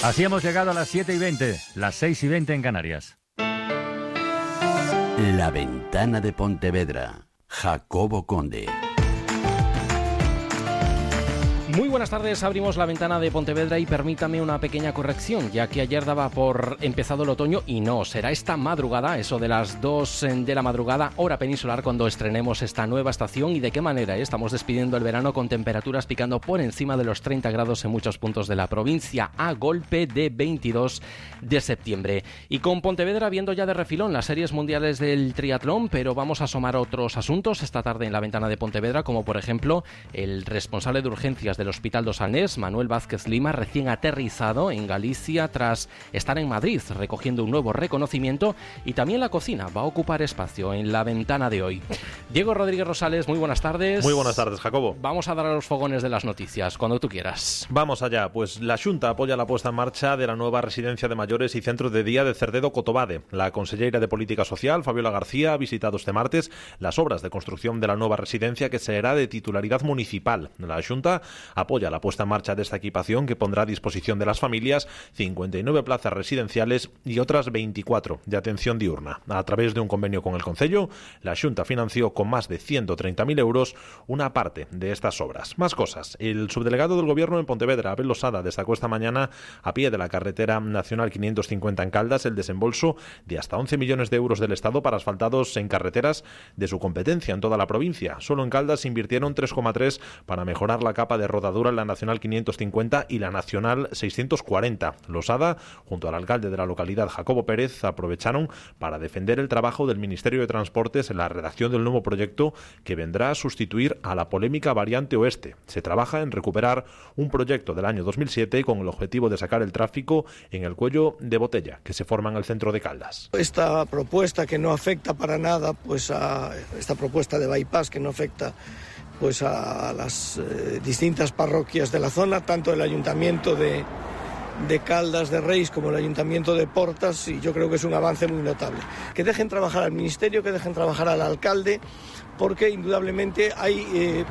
Así hemos llegado a las 7:20, las 6:20 en Canarias. La Ventana de Pontevedra, Jacobo Conde. Muy buenas tardes, abrimos la ventana de Pontevedra y permítame una pequeña corrección, ya que ayer daba por empezado el otoño y no, será esta madrugada, eso de las 2 de la madrugada, hora peninsular, cuando estrenemos esta nueva estación. Y de qué manera, estamos despidiendo el verano con temperaturas picando por encima de los 30 grados en muchos puntos de la provincia, a golpe de 22 de septiembre. Y con Pontevedra viendo ya de refilón las series mundiales del triatlón, pero vamos a asomar otros asuntos esta tarde en la ventana de Pontevedra, como por ejemplo el responsable de urgencias del Hospital do Salnés, Manuel Vázquez Lima, recién aterrizado en Galicia tras estar en Madrid recogiendo un nuevo reconocimiento, y también la cocina va a ocupar espacio en la ventana de hoy. Diego Rodríguez Rosales, muy buenas tardes. Muy buenas tardes, Jacobo. Vamos a dar a los fogones de las noticias, cuando tú quieras. Vamos allá, pues la Xunta apoya la puesta en marcha de la nueva residencia de mayores y centro de día de Cerdedo Cotobade. La conselleira de Política Social, Fabiola García, ha visitado este martes las obras de construcción de la nueva residencia, que será de titularidad municipal. La Xunta apoya la puesta en marcha de esta equipación, que pondrá a disposición de las familias 59 plazas residenciales y otras 24 de atención diurna. A través de un convenio con el Concello, la Xunta financió con más de 130.000 euros una parte de estas obras. Más cosas. El subdelegado del Gobierno en Pontevedra, Abel Losada, destacó esta mañana a pie de la carretera nacional 550 en Caldas el desembolso de hasta 11 millones de euros del Estado para asfaltados en carreteras de su competencia en toda la provincia. Solo en Caldas se invirtieron 3,3 para mejorar la capa de rodadura en la Nacional 550 y la Nacional 640. Losada, junto al alcalde de la localidad, Jacobo Pérez, aprovecharon para defender el trabajo del Ministerio de Transportes en la redacción del nuevo proyecto que vendrá a sustituir a la polémica variante oeste. Se trabaja en recuperar un proyecto del año 2007 con el objetivo de sacar el tráfico en el cuello de botella que se forma en el centro de Caldas. Esta propuesta que no afecta para nada, pues a esta propuesta de bypass que no afecta pues a las distintas parroquias de la zona, tanto el Ayuntamiento de Caldas de Reis como el Ayuntamiento de Portas, y yo creo que es un avance muy notable. Que dejen trabajar al Ministerio, que dejen trabajar al alcalde, porque indudablemente hay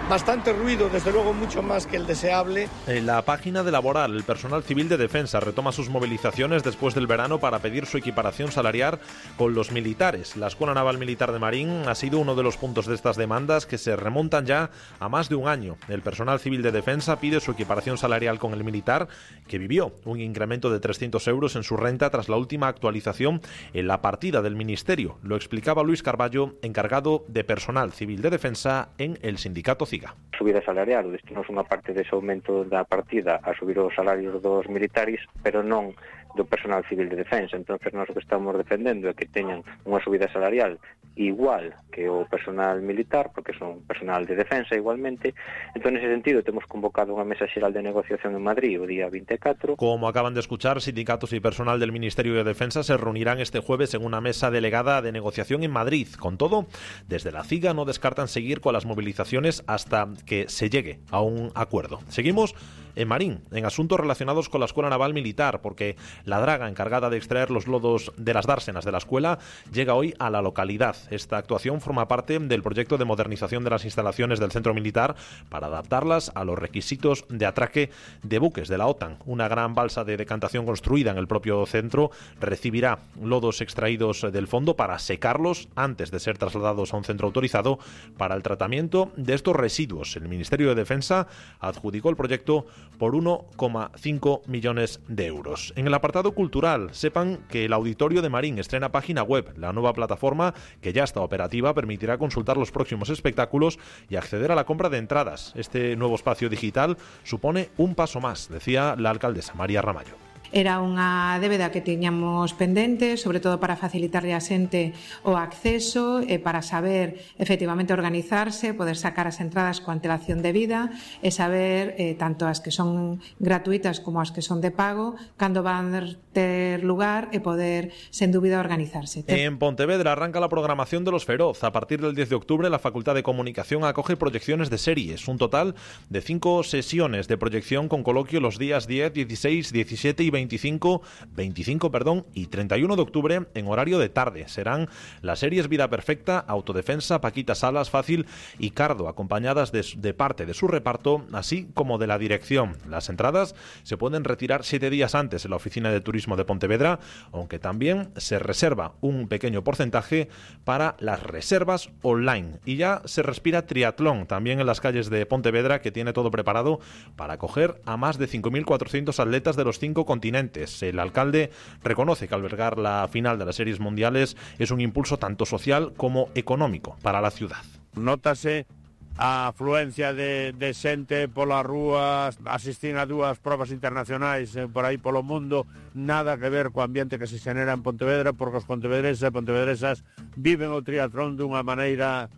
bastante ruido, desde luego mucho más que el deseable. En la página de Laboral, el personal civil de defensa retoma sus movilizaciones después del verano para pedir su equiparación salarial con los militares. La Escuela Naval Militar de Marín ha sido uno de los puntos de estas demandas, que se remontan ya a más de un año. El personal civil de defensa pide su equiparación salarial con el militar, que vivió un incremento de 300 euros en su renta tras la última actualización en la partida del Ministerio. Lo explicaba Luis Carballo, encargado de personal civil de defensa en el sindicato CIGA. Subida salarial, o destinos unha parte dese aumento da partida a subir os salarios dos militares, pero non do personal civil de defensa. Entonces nós o que estamos defendendo é que teñan unha subida salarial igual que o personal militar, porque son personal de defensa igualmente. Entón, nese sentido, temos convocado unha mesa xeral de negociación en Madrid o día 24. Como acaban de escuchar, sindicatos y personal del Ministerio de Defensa se reunirán este jueves en una mesa delegada de negociación en Madrid. Con todo, desde la CIGA no descartan seguir con las movilizaciones hasta que se llegue a un acuerdo. Seguimos en Marín, en asuntos relacionados con la Escuela Naval Militar, porque la draga encargada de extraer los lodos de las dársenas de la escuela llega hoy a la localidad. Esta actuación forma parte del proyecto de modernización de las instalaciones del centro militar para adaptarlas a los requisitos de atraque de buques de la OTAN. Una gran balsa de decantación construida en el propio centro recibirá lodos extraídos del fondo para secarlos antes de ser trasladados a un centro autorizado para el tratamiento de estos residuos. El Ministerio de Defensa adjudicó el proyecto por 1,5 millones de euros. En el apartado cultural, sepan que el Auditorio de Marín estrena página web. La nueva plataforma, que ya está operativa, permitirá consultar los próximos espectáculos y acceder a la compra de entradas. Este nuevo espacio digital supone un paso más, decía la alcaldesa María Ramallo. Era unha débeda que tiñamos pendente, sobre todo para facilitarlle a xente o acceso, para saber efectivamente organizarse, poder sacar as entradas coa antelación debida e saber tanto as que son gratuitas como as que son de pago, cando van a ter lugar e poder, sen dúbida, organizarse. En Pontevedra arranca la programación de Los Feroz. A partir del 10 de octubre, la Facultad de Comunicación acoge proyecciones de series, un total de 5 sesiones de proyección con coloquio los días 10, 16, 17 y 20 25 y 31 de octubre en horario de tarde. Serán las series Vida Perfecta, Autodefensa, Paquita Salas, Fácil y Cardo, acompañadas de parte de su reparto, así como de la dirección. Las entradas se pueden retirar 7 días antes en la Oficina de Turismo de Pontevedra, aunque también se reserva un pequeño porcentaje para las reservas online. Y ya se respira triatlón también en las calles de Pontevedra, que tiene todo preparado para acoger a más de 5.400 atletas de los 5 continentes. El alcalde reconoce que albergar la final de las series mundiales es un impulso tanto social como económico para la ciudad. Nótase a afluencia de xente polas rúas, asistir a 2 probas internacionais por aí polo mundo, nada que ver co ambiente que se xenera en Pontevedra, porque os pontevedreses e pontevedresas viven o triatlón dunha maneira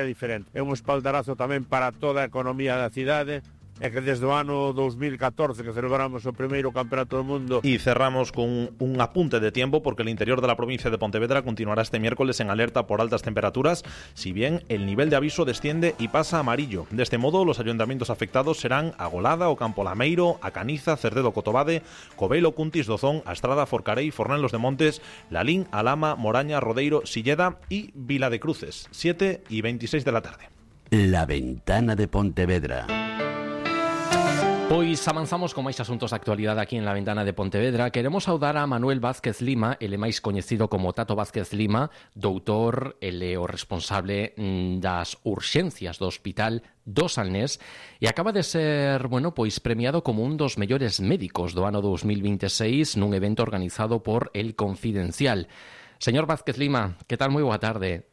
diferente. É un espaldarazo tamén para toda a economía da cidade, é que desde o ano 2014 que celebramos o primeiro campeonato do mundo. Y cerramos con un apunte de tiempo, porque el interior de la provincia de Pontevedra continuará este miércoles en alerta por altas temperaturas, si bien el nivel de aviso desciende y pasa a amarillo. De este modo, los ayuntamientos afectados serán Agolada, Ocampo Lameiro, A Caniza, Cerdedo Cotobade, Covelo, Cuntis, Dozón, Astrada, Forcarei, Fornelos de Montes, Lalín, Alama, Moraña, Rodeiro, Silleda y Vila de Cruces, 7 y 26 de la tarde. La Ventana de Pontevedra. Pois avanzamos con máis asuntos de actualidade aquí en La Ventana de Pontevedra. Queremos saudar a Manuel Vázquez Lima, ele máis coñecido como Tato Vázquez Lima, doutor, ele o responsable das urxencias do Hospital do Salnés, e acaba de ser, pois premiado como un dos mellores médicos do ano 2026 nun evento organizado por El Confidencial. Señor Vázquez Lima, que tal? Moi boa tarde.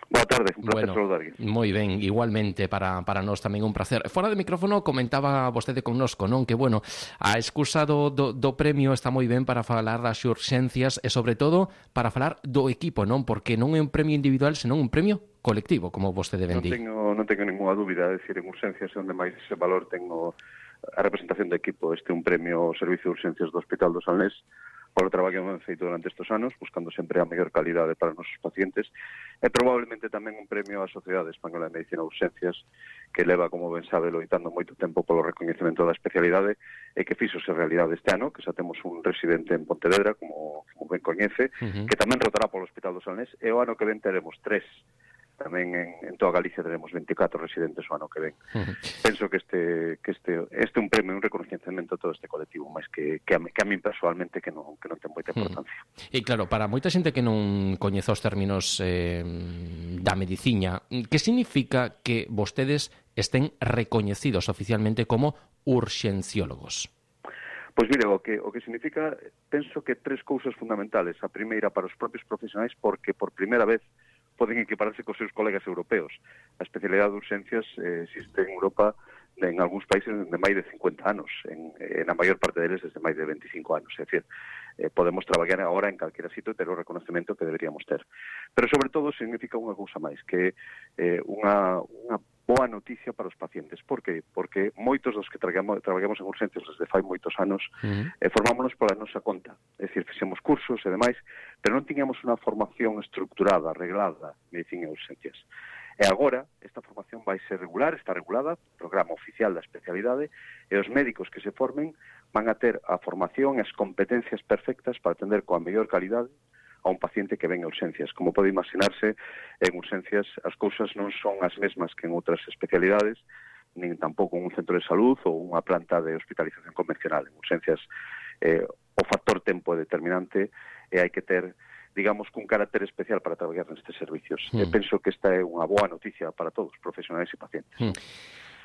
Boa tarde, un placer saludarlle. Moi ben, igualmente para nós tamén un placer. Fora de micrófono comentaba vostede connosco, non? Que, a excusa do premio está moi ben para falar das urxencias e, sobre todo, para falar do equipo, non? Porque non é un premio individual, senón un premio colectivo, como vostede ben di. Non tengo ninguna dúbida, é dicir, en urxencias onde máis ese valor tengo a representación do equipo. Este é un premio ao Servicio de Urxencias do Hospital do Salnés, polo traballo que hemos feito durante estes anos, buscando sempre a mellor calidade para os nosos pacientes, e probablemente tamén un premio á Sociedade Española de Medicina de Urxencias, que leva, como ben sabe, loitando moito tempo polo recoñecemento da especialidade, e que fixose realidade este ano, que xa temos un residente en Pontevedra, como ben coñece, que tamén rotará polo Hospital do Salnés, e o ano que ven teremos 3. Tamén en toda Galicia teremos 24 residentes o ano que ven. Penso que este é un premio, un reconocimiento a todo este colectivo, máis que a min personalmente que non ten moita importancia. E claro, para moita xente que non coñece os términos da medicina, que significa que vostedes estén recoñecidos oficialmente como urxenciólogos? Pois mire, o que significa, penso que 3 cousas fundamentales. A primeira, para os propios profesionais, porque por primeira vez poden equipararse cos seus colegas europeos. A especialidade de urxencias existe en Europa, en algúns países de máis de 50 anos, na maior parte deles desde máis de 25 anos. É dicir, podemos traballar agora en calquera sitio e ter o reconocemento que deberíamos ter. Pero, sobre todo, significa unha cousa máis, que unha boa noticia para os pacientes. Por qué? Porque moitos dos que traballamos en urxencias desde fai moitos anos formámonos pola nosa conta. É dicir, fixemos cursos e demais, pero non tiñamos unha formación estructurada, arreglada, medicina e urxencias. E agora, esta formación vai ser regular, está regulada, programa oficial da especialidade, e os médicos que se formen van a ter a formación e as competencias perfectas para atender coa mellor calidade a un paciente que ven a urxencias. Como pode imaginarse, en urxencias as cousas non son as mesmas que en outras especialidades, nin tampouco en un centro de salud ou unha planta de hospitalización convencional. En urxencias o factor tempo é determinante e hai que ter, digamos, un carácter especial para traballar nestes servicios. Penso que esta é unha boa noticia para todos, profesionais e pacientes.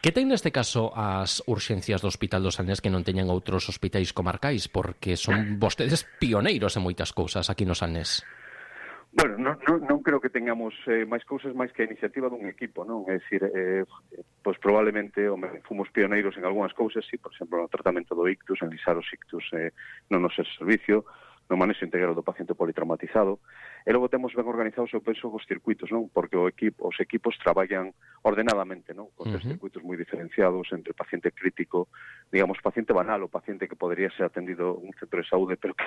Que ten neste caso as urxencias do Hospital do Salnés que non teñan outros hospitais comarcais? Porque son vostedes pioneiros en moitas cousas aquí no Salnés. Bueno, non creo que tengamos máis cousas máis que a iniciativa dun equipo, non? É dicir, pois probablemente fomos pioneiros en algunhas cousas, sí, por exemplo, no tratamento do ictus, en lisar os ictus no noso servicio, no manexo integral do paciente politraumatizado, e logo temos ben organizados, eu penso, os circuitos, non? Porque os equipos traballan ordenadamente, non? Con tres circuitos moi diferenciados entre paciente crítico, digamos, paciente banal, o paciente que podría ser atendido en un centro de saúde, pero que,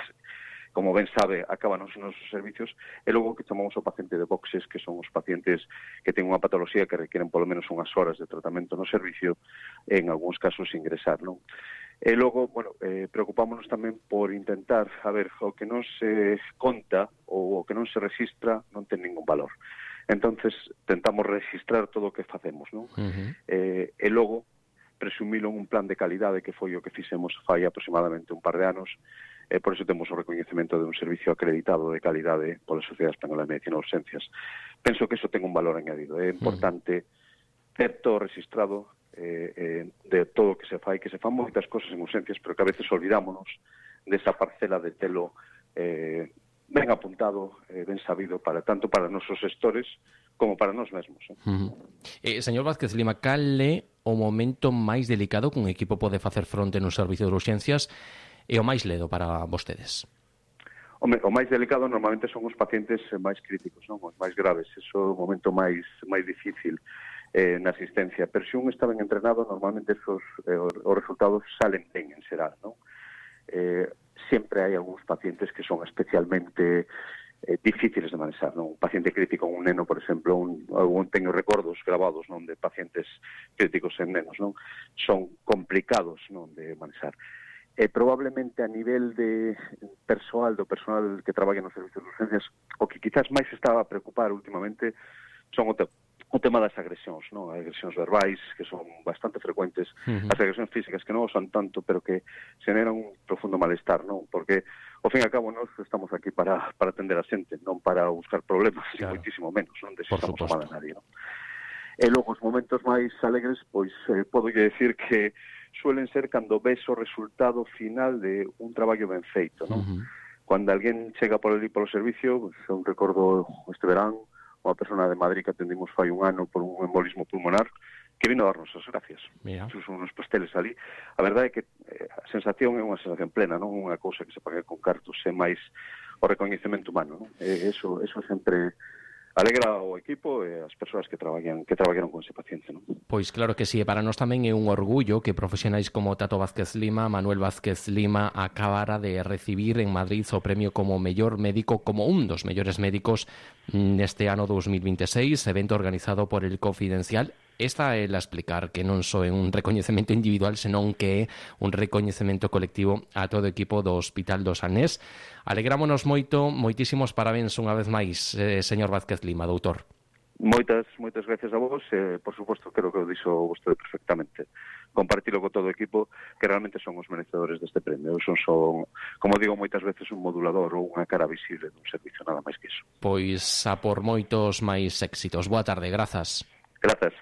como ben sabe, acaban os nosos servicios, e logo que chamamos o paciente de boxes, que son os pacientes que ten unha patoloxía que requieren polo menos unhas horas de tratamento no servicio, e en algúns casos ingresar, non? E logo, bueno, preocupámonos tamén por intentar, a ver, o que non se conta ou o que non se registra non ten ningún valor. Entonces, tentamos registrar todo o que facemos, non? E logo, presumilo en un plan de calidade que foi o que fixemos fai aproximadamente un par de anos, e por iso temos o recoñecemento de un servicio acreditado de calidade pola Sociedade Española de Medicina de Urxencias. Penso que iso ten un valor añadido. É importante ter todo registrado de todo o que se fai, que se fan moitas cosas en urxencias, pero que a veces olvidámonos desa parcela de telo ben apuntado, ben sabido, tanto para os nosos gestores como para nós mesmos. Señor Vázquez Lima, cal é o momento máis delicado que un equipo pode facer fronte nun servicio de urxencias e o máis ledo para vostedes? Home, o máis delicado normalmente son os pacientes máis críticos, non? Os máis graves. Eso é o momento máis difícil na asistencia, pero se un está ben entrenado, normalmente os resultados salen ben en xeral, non? Sempre hai algúns pacientes que son especialmente difíciles de manexar, non? Un paciente crítico, un neno, por exemplo, teño recordos grabados, non, de pacientes críticos en nenos, non? Son complicados, non, de manexar. Probablemente a nivel de persoal, do personal que traballa nos servicios de urgencias, o que quizás máis se estaba a preocupar últimamente son o tema das agresións, non? As agresións verbais, que son bastante frecuentes, as agresións físicas, que non son tanto, pero que xeneran un profundo malestar, non? Porque, ao fin e ao cabo, nós estamos aquí para atender a xente, non para buscar problemas, claro. E moitísimo menos, non desexamos a mal a nadie, non? E logo, os momentos máis alegres, pois, podo decir que suelen ser cando ves o resultado final de un traballo ben feito, non? Cando alguén chega por ali polo servicio, pues, eu recordo este verán, unha persona de Madrid que atendimos fai un ano por un embolismo pulmonar, que vino a darnos as gracias. Xusto unos pasteles ali. A verdade é que a sensación é unha sensación plena, non unha cousa que se paga con cartos, é máis o recoñecemento humano, non? Eso sempre alegra ao equipo e as persoas que traballaron con ese paciente, non? Pois claro que sí, e para nós tamén é un orgullo que profesionais como Tato Vázquez Lima, Manuel Vázquez Lima, acabara de recibir en Madrid o premio como mellor médico, como un dos mellores médicos neste ano 2026, evento organizado por El Confidencial. Esta é a explicar que non só é un recoñecemento individual, senón que é un recoñecemento colectivo a todo o equipo do Hospital do Sanés. Alegrámonos moito, moitísimos parabéns unha vez máis, señor Vázquez Lima, doutor. Moitas gracias a vos, por suposto, creo que o dixo vostede perfectamente. Compartilo con todo o equipo, que realmente son os merecedores deste premio. Son, como digo moitas veces, un modulador ou unha cara visible dun servicio, nada máis que iso. Pois a por moitos máis éxitos. Boa tarde, grazas. Grazas.